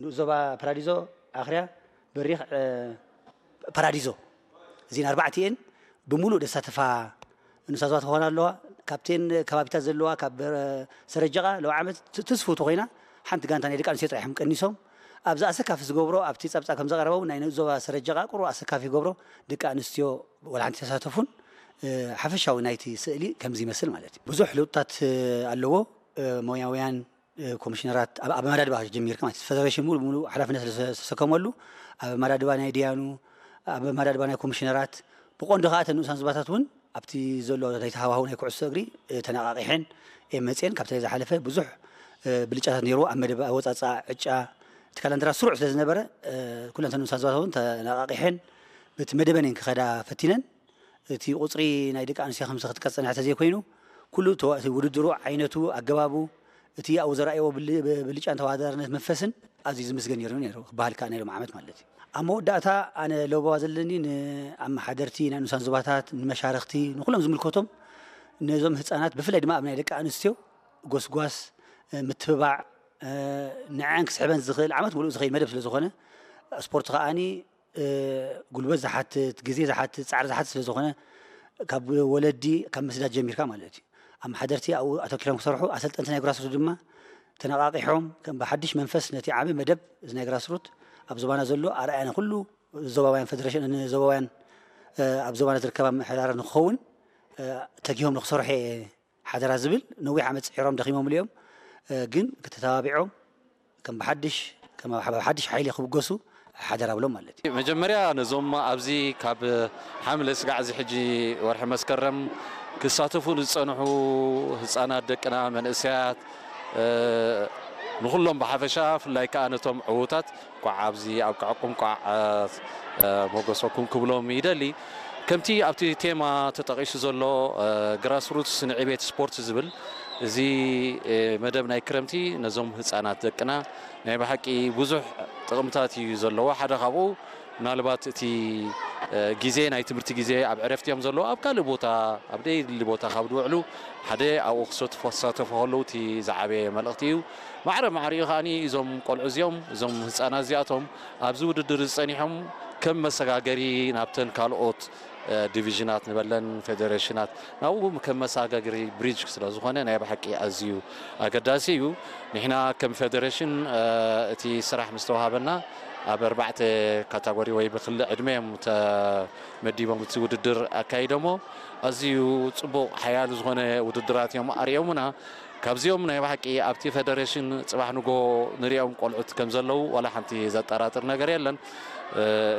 ንኡስ ዞባ ፓራዲዞ፣ ኣኽርያ፣ በሪኽ፣ ፓራዲዞ፣ እዚን ኣርባዕቲኤን ብምሉእ ደሳተፋ ንኡሳን ዞባታት ክኾና ኣለዋ። ካብተን ከባቢታት ዘለዋ ካብ ሰረጀቓ ለው ዓመት ትስፉቱ ኮይና ሓንቲ ጋንታ ናይ ደቂ ኣንስትዮ ጥራሕ እዮም ቀኒሶም። ኣብዚ ኣሰካፊ ዝገብሮ ኣብቲ ጸብጻብ ከም ዘቐረበው ናይ ንኡስ ዞባ ሰረጀቓ ቁሩ ኣሰካፊ ይገብሮ ደቂ ኣንስትዮ ወላ ሓንቲ ተሳተፉን። ሓፈሻዊ ናይቲ ስእሊ ከምዚ ይመስል ማለት እዩ። ብዙሕ ለውጥታት ኣለዎ። ሞያውያን ኮሚሽነራት ኣብ ኣመዳድባ ጀሚርካ ማለት ፌደሬሽን ሙሉ ሙሉ ሓላፍነት ዝተሰከመሉ ኣብ ኣመዳድባ ናይ ዲያኑ ኣብ ኣመዳድባ ናይ ኮሚሽነራት ብቆንዶ ከዓ እተን ንኡሳን ዞባታት እውን ኣብቲ ዘሎ ናይ ተሃዋህው ናይ ኩዕሶ እግሪ ተነቃቂሐን እየን መፅኤን። ካብቲ ዝሓለፈ ብዙሕ ብልጫታት ነይርዎ ኣብ መደብ ኣወፃፃ ዕጫ እቲ ካላንደራ ስሩዕ ስለ ዝነበረ ኩለን እተን ንኡሳን ዞባታት እውን ተነቃቂሐን በቲ መደበኔን ክኸዳ ፈቲነን። እቲ ቁፅሪ ናይ ደቂ ኣንስትዮ ከምዚ ክትቀፅል እንድሕር ተዘይኮይኑ ኩሉ እቲ ውድድሩ ዓይነቱ ኣገባቡ እቲ ኣብኡ ዘረኣይዎ ብልጫን ተወዳዳርነት መንፈስን ኣዝዩ ዝምስገን ነይሩ ነይሩ ክበሃል ከኣ ናይ ሎም ዓመት ማለት እዩ። ኣብ መወዳእታ ኣነ ለበዋ ዘለኒ ንኣመሓደርቲ ናይ ንኡሳን ዞባታት ንመሻርክቲ ንኩሎም ዝምልከቶም ነዞም ህፃናት ብፍላይ ድማ ኣብ ናይ ደቂ ኣንስትዮ ጎስጓስ ምትብባዕ ንዐን ክስሕበን ዝኽእል ዓመት ሙሉእ ዝኸይድ መደብ ስለ ዝኾነ ስፖርት ከኣኒ ጉልበት ዝሓትት ግዜ ዝሓትት ፃዕሪ ዝሓትት ስለ ዝኾነ ካብ ወለዲ ካብ ምስዳድ ጀሚርካ ማለት እዩ ኣመሓደርቲ ኣብኡ ኣተኪሮም ክሰርሑ ኣሰልጠንቲ ናይ ግራስሩት ድማ ተነቃቂሖም ከም ብሓድሽ መንፈስ ነቲ ዓቢ መደብ እዚ ናይ ግራስሩት ኣብ ዞባና ዘሎ ኣርኣያ ንኩሉ ዞባውያን ፌደሬሽን ንዞባውያን ኣብ ዞባና ዝርከባ ምሕዳራት ንክኸውን ተጊሆም ንክሰርሑ እየ ሓደራ ዝብል ነዊሕ ዓመት ፅዒሮም ደኺሞምሉ እዮም ግን ክተተባቢዖም ከም ብሓድሽ ከም ብሓድሽ ሓይሊ ክብገሱ ሓደራ ብሎም ማለት እዩ። መጀመርያ ነዞም ኣብዚ ካብ ሓምለ ስጋዕ እዚ ሕጂ ወርሒ መስከረም ክሳተፉ ዝፀንሑ ህፃናት ደቅና መንእሰያት ንኩሎም ብሓፈሻ ፍላይ ከዓ ነቶም ዕዉታት እንኳዕ ኣብዚ ኣብቅዐኩም እንኳዕ ሞገሰኩም ክብሎም ይደሊ። ከምቲ ኣብቲ ቴማ ተጠቒሱ ዘሎ ግራስሩትስ ንዕቤት ስፖርት ዝብል እዚ መደብ ናይ ክረምቲ ነዞም ህፃናት ደቅና ናይ ብሓቂ ብዙሕ ጥቕምታት እዩ ዘለዎ። ሓደ ካብኡ ምናልባት እቲ ግዜ ናይ ትምህርቲ ግዜ ኣብ ዕረፍቲ እዮም ዘለዎ ኣብ ካልእ ቦታ ኣብ ደይድሊ ቦታ ካብ ዝውዕሉ ሓደ ኣብኡ ክሳተፉ ከለዉ እቲ ዝዓበየ መልእኽቲ እዩ። ማዕረ ማዕሪኡ ከኣ እዞም ቆልዑ እዚኦም እዞም ህፃናት እዚኣቶም ኣብዚ ውድድር ዝፀኒሖም ከም መሰጋገሪ ናብተን ካልኦት ዲቪዥናት ንበለን ፌደሬሽናት ናብኡ ከም መሰጋገሪ ብሪጅ ስለ ዝኾነ ናይ ብሓቂ ኣዝዩ ኣገዳሲ እዩ። ንሕና ከም ፌደሬሽን እቲ ስራሕ ምስ ተዋሃበና ኣብ ኣርባዕተ ካታጎሪ ወይ ብክሊ ዕድመ እዮም ተመዲቦም እቲ ውድድር ኣካይዶሞ። ኣዝዩ ፅቡቕ ሓያል ዝኾነ ውድድራት እዮም ኣርእዮምና። ካብዚኦም ናይ ብሓቂ ኣብቲ ፌደሬሽን ፅባሕ ንጎ ንሪኦም ቆልዑት ከም ዘለዉ ዋላ ሓንቲ ዘጠራጥር ነገር የለን።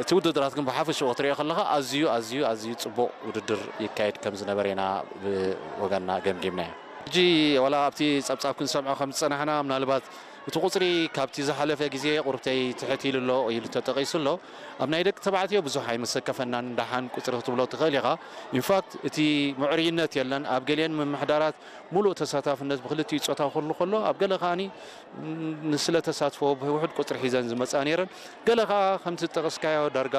እቲ ውድድራት ግን ብሓፈሽኡ ክትሪኦ ከለኻ ኣዝዩ ኣዝዩ ኣዝዩ ፅቡቕ ውድድር ይካየድ ከም ዝነበረ ኢና ብወገንና ገምጊምናዮ። ሕጂ ዋላ ኣብቲ ፀብፃብ ክንሰምዖ ከም ዝፀናሕና ምናልባት እቲ ቁፅሪ ካብቲ ዝሓለፈ ግዜ ቁርብተይ ትሕት ኢሉ ኣሎ ኢሉ ተጠቒሱ ኣሎ። ኣብ ናይ ደቂ ተባዕትዮ ብዙሕ ኣይመሰከፈናን ደሓን ቁፅሪ ክትብሎ ትኽእል ኢኻ። ኢንፋክት እቲ ምዕሩይነት የለን ኣብ ገሊአን ምምሕዳራት ሙሉእ ተሳታፍነት ብክልቲኡ ፆታ ክህሉ ከሎ ኣብ ገለ ከኣኒ ንስለ ተሳትፎ ብውሕድ ቁፅሪ ሒዘን ዝመፃ ነይረን። ገለ ከዓ ከምቲ ዝጠቐስካዮ ዳርጋ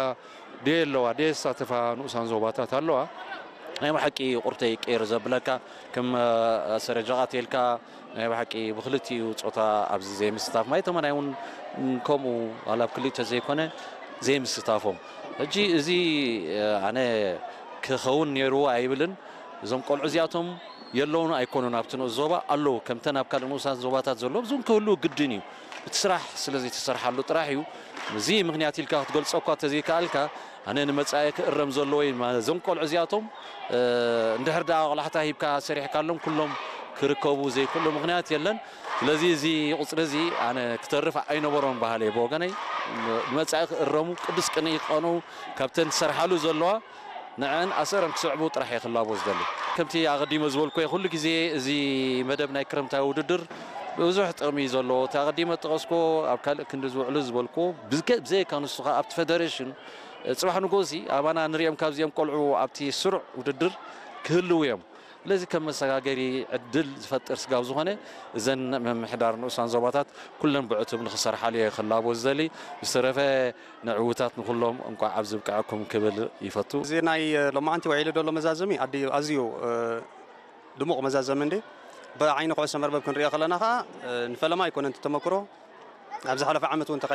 ደየለዋ ደየሳተፋ ንኡሳን ዞባታት ኣለዋ። ናይ ብሓቂ ቁርተይ ቅር ዘብለካ ከም ኣሰረጃቓት ኢልካ ናይ ብሓቂ ብክልቲኡ ፆታ ኣብዚ ዘይምስታፍ ማይ ተመናይ እውን ከምኡ ዋላ ኣብ ክልተ ዘይኮነ ዘይምስታፎም ሕጂ እዚ ኣነ ክኸውን ነይርዎ ኣይብልን። እዞም ቆልዑ እዚኣቶም የለውን ኣይኮኑን ኣብቲ ንኡስ ዞባ ኣለዉ ከምተን ኣብ ካልእ ንኡሳት ዞባታት ዘለዉ እዚን ክህልዉ ግድን እዩ። እቲ ስራሕ ስለ ዘይተሰርሓሉ ጥራሕ እዩ። እዚ ምክንያት ኢልካ ክትገልፆ እኳ ተዘይከኣልካ ኣነ ንመፃኢ ክእረም ዘለዎ እዩ። እዞም ቆልዑ እዚኣቶም እንድሕር ደኣ ቆላሕታ ሂብካ ሰሪሕካሎም ኩሎም ክርከቡ ዘይክእሉ ምክንያት የለን። ስለዚ እዚ ቁፅሪ እዚ ኣነ ክተርፍ ኣይነበሮን በሃለ ብወገነይ ንመፃኢ ክእረሙ ቅዱስ ቅንኢ ክቐኑ ካብተን ዝሰርሓሉ ዘለዋ ንዐን ኣሰረን ክስዕቡ ጥራሕ እየ ክላቦ ዝደሊ። ከምቲ ኣቐዲመ ዝበልኩ ኩሉ ግዜ እዚ መደብ ናይ ክረምታዊ ውድድር ብዙሕ ጥቕሚ እዩ ዘለዎ። እቲ ኣቐዲመ ዝጠቐስኩዎ ኣብ ካልእ ክንዲ ዝውዕሉ ዝበልኩዎ ብዘይካ ንሱ ከዓ ኣብቲ ፌደሬሽን ፅባሕ ንጎሲ ኣባና ንሪኦም ካብዚኦም ቆልዑ ኣብቲ ስሩዕ ውድድር ክህልው እዮም። ስለዚ ከም መሰጋገሪ ዕድል ዝፈጥር ስጋብ ዝኾነ እዘን ምምሕዳር ንኡሳን ዞባታት ኩለን ብዕቱብ ንክሰርሓሉ እየ ክላቦ ዝደሊ። ብዝተረፈ ንዕውታት ንኩሎም እንቋዕ ኣብ ዝብቅዐኩም ክብል ይፈቱ። እዚ ናይ ሎማዓንቲ ውዒሉ ዘሎ መዛዘሚ ኣዲ- ኣዝዩ ድሙቕ መዛዘሚ እንዲ ብዓይኒ ኩዕሶ መርበብ ክንሪኦ ከለና ከዓ ንፈለማ ኣይኮነን እቲ ተመክሮ ኣብ ዝሓለፈ ዓመት እውን